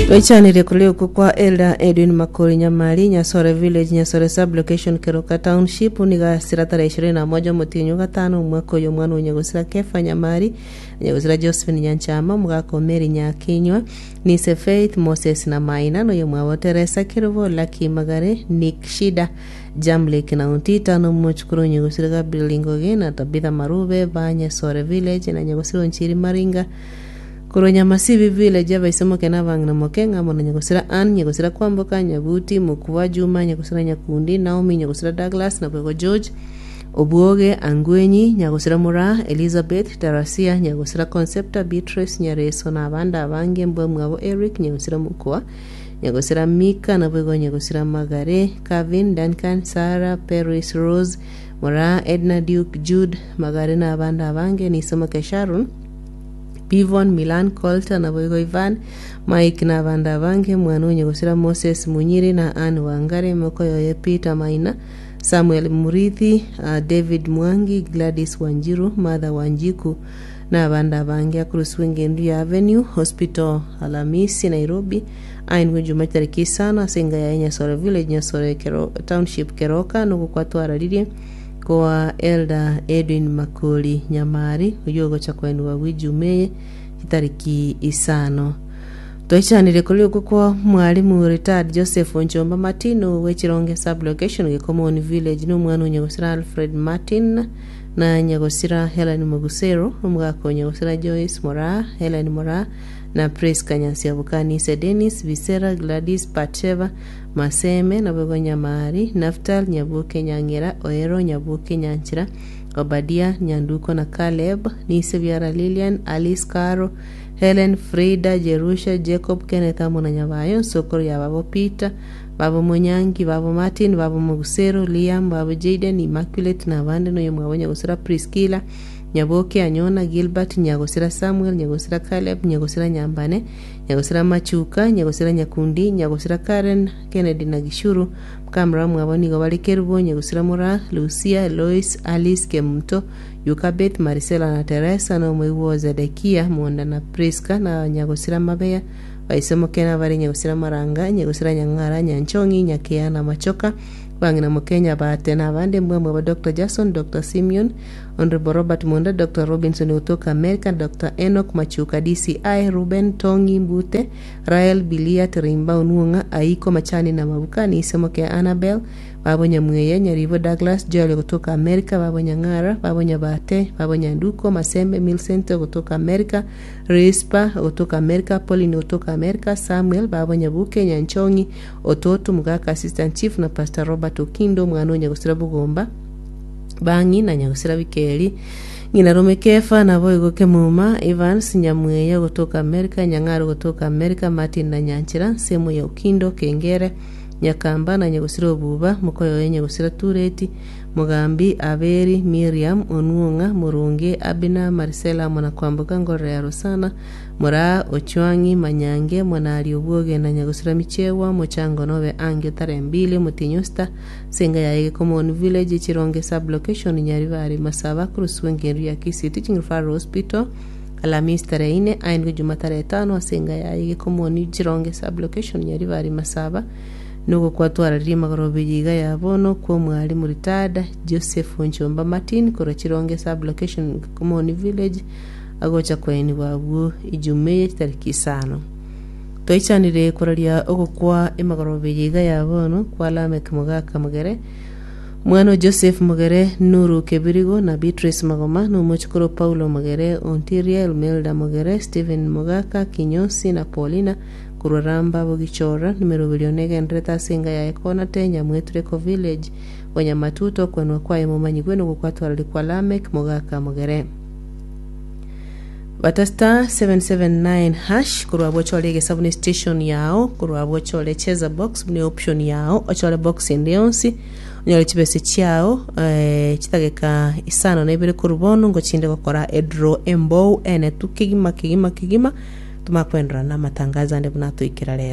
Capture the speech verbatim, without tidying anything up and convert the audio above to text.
Twaichanirie korwa okwo kwa Elder Edwin Makori Nyamari, Nyasore Village, Nyasore Sub-location, Keroka Township, nigo asira tarehe ishirini na moja omotienyi o gatano omwaka oyo omwana o Nyagosira Kefa Nyamari, Nyagosira Josephine Nyanchama, omogaka o Mary Nyakinywa, Nise Faith, Moses na Maina, na oyomwabo Teresa Kerubo, Lucky Magare, Nick Shida, Jamlek na Ontita, na omochukuru o Nyagosira Gabriel Ngoge, na Tabitha Marube, ba Nyasore Village, na Nyagosira Onchiri Maringa, korwa Nyamasibi Village abaise moke na abang'ina moke ng'amo na Nyagosira Ann, Nyagosira Kwamboka, Nyabuti, Mokua Juma, Nyagosira Nyakundi, Naomi, Nyagosira Douglas, na Bwego George, Obwoge, Angwenyi, Nyagosira Moraa, Elizabeth, Tarasia, Nyagosira Concepta, Beatrice, Nyareso na abande abange mbwa mwabo Eric, Nyagosira Mokua, Nyagosira Mika, na Bwego Nyagosira Magare, Kevin, Duncan, Sarah, Paris, Rose, Moraa, Edna, Duke, Jude, Magare na abande abange, Nisomoke Sharon, Bivon, Milan, Colter na boigo Ivan, Mike na abande abange, mwana onyegosira Moses Munyiri na Ann Wangare, mokoyoye Peter Maina, Samuel Murithi, uh, David Mwangi, Gladys Wanjiru, Martha Wanjiku na abande abange akoroswa engendu ya Avenue Hospital Alamisi Nairobi ainwe Juma tariki isano ase enga ya Nyasore Village Nyasore Kero, Township Keroka nogokwatwararirie koa Elder Edwin Makori Nyamari oyo ogocha koenigwa bwa ejuma eye chitariki isano Twaichanire kori okwo kwa mwalimu retired Joseph Onchomba Martin wechironge sub-location Gekomoni village na omwana o Nyagosira Alfred Martin na Nyagosira Helen Mogusero omogaka o Nyagosira Joyce Moraa Helen Moraa na Priska Nyansiabukanise Dennis Bisera Gladys Batsheva Maseme naboigo Nyamari Naftal Nyabuke Nyang'era Oero Nyabuke Nyanchira Obadia Nyanduko na Caleb Nise Biara Lilian Alice Caro Helen Frida Jerusha Jacob Kenneth amo na Nyabayo Nsokoro ya babo Peter babo Monyangi babo Martin babo Mogusero Liam babo Jaden Immaculate na abande noyo mwabo Nyagosira Priscilla Nyaboke Anyona Gilbert Nyagosira Samuel Nyagosira Caleb Nyagosira Nyambane Nyagosira Machuka Nyagosira Nyakundi Nyagosira Karen Kennedy na Gishuru Mukamura mwabo nigo bari Kerubo Nyagosira Mura Lucia Lois Alice Kemuto Yukabeth Maricela na Teresa na omoigwa Zedekia Monda na Priska na Nyagosira Mabeya baisemoke nabare Nyagosira Maranga Nyagosira Nyang'ara Nyanchong'i Nyakea na Machoka bang'ina Mokenya Bate na abande mbwamwe ba Dr. Jackson Dr. Simeon Honorable Robert Monda Dr. Robinson kutoka America Dr. Enoch Machuka DCI Ruben Tongi Mbute Rael Bilia Tirimba Onuong'a Aiko Machani na Mabuka Nisemoke Annabel babo Nyamweye Nyaribo Douglas Joel kutoka America babo Nyang'ara babo Nyabate babo Nyanduko Masembe Milcent kutoka America Rispa kutoka America Pauline kutoka America Samuel babo Nyabuke Nyanchong'i Ototo Mugaka Assistant Chief na Pastor Robert Okindo mwana o Nyagosira Bugomba bang'i na Nyagosira Bikeri ng'ina Rome Kefa nabo igo Kemuma Evans Nyamweya kutoka America Nyang'aro kutoka America Martin na Nyanchira nsemo ya Okindo Kengere Nyakamba na Nyagosira Obuba mokoyoye Nyagosira Tureti Mugambi Aberi Miriam Onuong'a Murunge Abina Marcela amo na Kwamboka Ngorora ya Rosana Moraa Ochwang'i Manyange Mwanari Obwoge na Nyagosira Michewa Mochango Nobe Ange tarehe mbili Mutinyusta Senga ya Gekomoni Village Chironge sub-location Nyaribari Masaba kurusiwa engendu ya Kisii Teaching Referral Hospital Alhamisi tarehe ine aindwe Juma tarehe tano asenga ya Gekomoni Chironge sub-location Nyaribari Masaba nugo kwatwararirie magorobe yiga ya bono kwa mwalimu retired Joseph Onchomba Martin korwa Chironge sub-location Gekomoni Village agocha kwaenigwa abwo Ijumaa tariki isano twaichanire koraria ogokwa emagorobe yiga ya bono kwa Lamek Mogaka Mogere mwana o Joseph Mogere Nuru Kebirigo na Beatrice Magoma na omochukuru Paulo Mogere Ontiria Elmelda Mogere Stephen Mogaka Kinyosi na Paulina korwa Ramba Bogichora nimeroberio negenderete ase enga yaye Konate Nyamwetureko Village Wanyamatuto kwenwa kwaye momanyigwe nogokwatwarari kwa Lamek Mogaka Mogere bata star seven seven nine hash korwa abwo ochore egesabuni station yao korwa abwo ochore cheza box buna option yao ochore box ende yonsi onyore chibese chiao eh, chitageka isano na ibere korwa bono ngochinde gokora edraw embou ene tu kegima kegima kegima tomakwendera na amatangazo ande buna toikera rero.